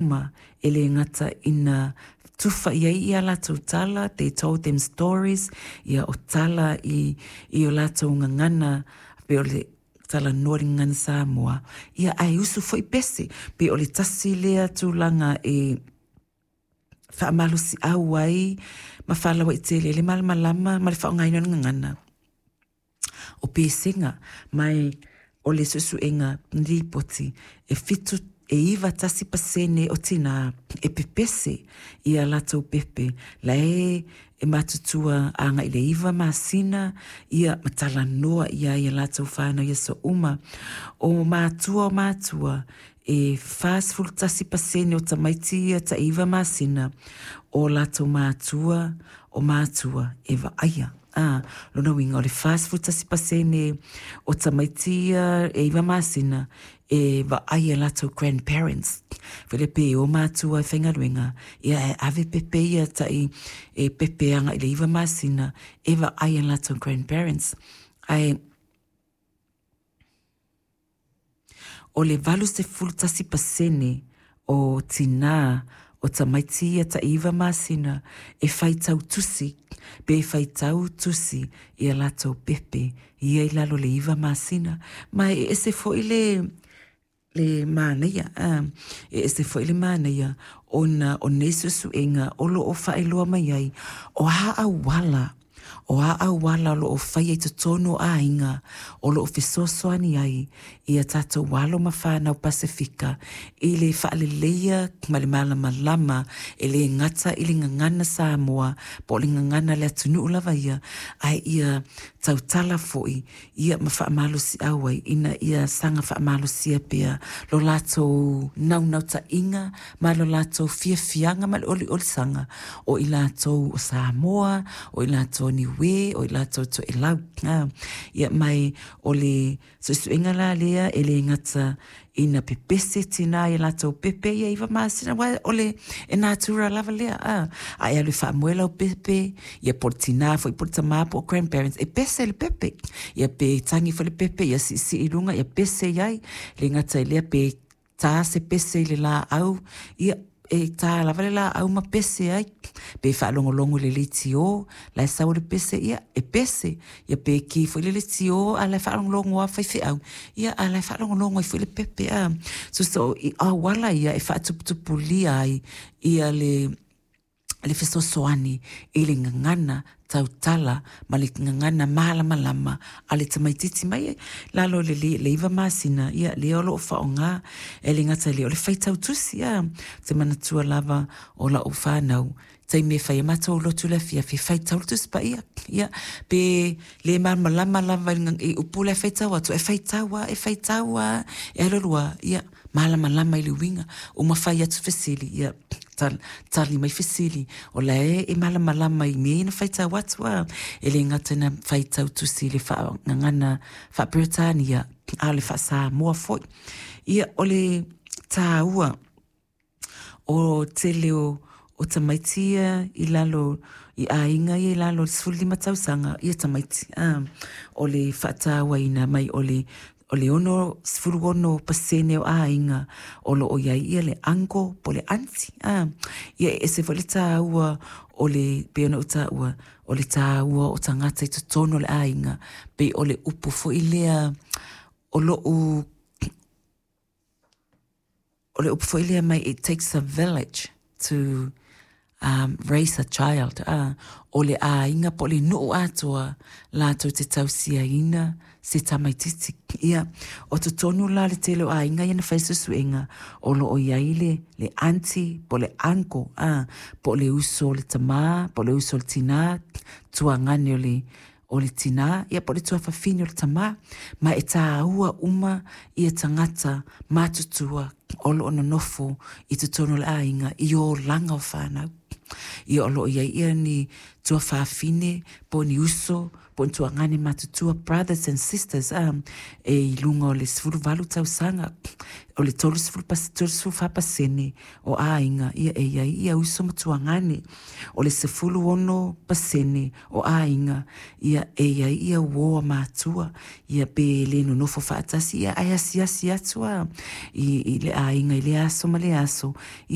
Uma e le gata ina tufa i ai ia latou tala, they told them stories, ia o tala i, i o latou gagana, pe o le talanoa i le gagana Samoa, ia ae usu foi pese. Pe o le tasi lea tulaga e faamalosiau ai ma faalauaitele ai le malamalama ma le faaaogaina o le gagana o pesega. Ma o le suesuega lipoti e 7 e 91% o tinā e pepese i a latou pepe la e e matutua agai i le 9 masina ia ma talanoa i ai i a latou fanau i aso uma. O matua o matua e 41% o tamaiti ia tai 9 masina o latou matua o matua e vaaia. A, lona uiga o le 41% o tamaiti ia e 9 masina e vaai e latou grandparents. Foi lea pe o matua e faigaluega, ia e ave pepe ia tai e pepe agai i le 9 masina e vaai e latou grandparents. Ae o le 81% o tinā o tamaiti ia tai 9 masina e faitau tusi pe faitau tusi i a latou pepe ia i lalo o le 9 masina. Ma e ese foi le le manaia, e ese foi le manaia ona o nei suesuega o lo o faailoa mai ai o a auala, o a auala o lo o faia i totonu o aiga o lo o fesoasoani ai i a tatou alo ma fanau Pasefika i le faaleleia ma le malamalama e le gata i le gagana Samoa po o le gagana a le atunuu lava ia, ae ia tautala foi ia ma faamalosiau ai ina ia saga faamalosia pea lo latou naunautaiga ma lo latou fiafiaga ma le oliolisaga o i latou o Samoa, o i latou o Niue, o i latou o Toelau. Ia mai o le suesuega la lea e le gata ina pepese tinā i a latou pepe ia 9 masina, aua o le e natura lava lea, a, a e alu e faamoe lau pepe, ia po o le tinā foi po o le tamā po o grandparents, e pese le pepe. Ia pe tagi foi le pepe, ia siisii i luga, ia pese i ai. E le gata i lea pe ta se pese i le laau, ia e ta lava le laau ma pese ai. Pe faalogologo i le leitio, la e sau le pese, ia e pese. Ia pe ki foi le leitio a la e faalogologo lava faifeau, ia a la e faalogologo ai foi le pepe, a. So, so i auala ia e faatuputupulia ai ia le le fesoasoani i le gagana tautala ma le gagana malamalama a le tamaitiiti mai lalo i le 9 masina, ia lea o lo o faaaoga e le gata i lea o le faitau tusi. A, ou te manatua lava o lau fanau taimi e fai ai matou lotu i le afiafi, e faitau le Tusi Paia. Ia, pe le malamalama lava i upu la e faitau atu, e faitau lava, e faitau lava, e alu alu lava, ia, malamalama i le uiga. Uma fai atu fesili, ia, tali mai fesili, o la e malamalama i mea ia na faitau atu, a. E le gata ina faitau tusi i le faagagana faa-Peretania, a o le faa-Samoa foi. Ia, o le taua o tele o, o tamaiti ia i lalo i aiga ia i lalo o le 15 tausaga ia tamaiti. A, o le faatauaina mai o le o le 66% o aiga o lo o i ai ia le uncle po o le aunty. A, ia e ese foi le taua o le, pei ona ou taua, o le taua o tagata i totonu o le aiga, pei o le upu foi lea o lou o le upu foi lea mai it takes a village to raise a child. A, o le aiga po o le nuu atoa latou te tausiaina se tamaititi. Ia, o totonu la le tele o aiga ia na fai suesuega, o lo o i ai le, le aunty po o le uncle, a, po o le uso o le tamā, po o le uso o le tinā, tuagane o le o le tinā, ia po o le tuafafine o le tamā, ma e tāua uma ia tagata matutua o lo o nonofo i totonu o le aiga i olaga o fanau. Ia o lo o i ai ia ni tuafafine po o ni uso po o ni tuagane matutua, brothers and sisters, a, e i luga o le 18 tausaga, o le 34% o aiga ia e i ai ia uso ma tuagane. O le 16% o aiga ia e i ai ia uo a matua, ia pe le nonofo faatasi, ia ae asiasi atu a i, i le aiga i lea aso ma lea aso.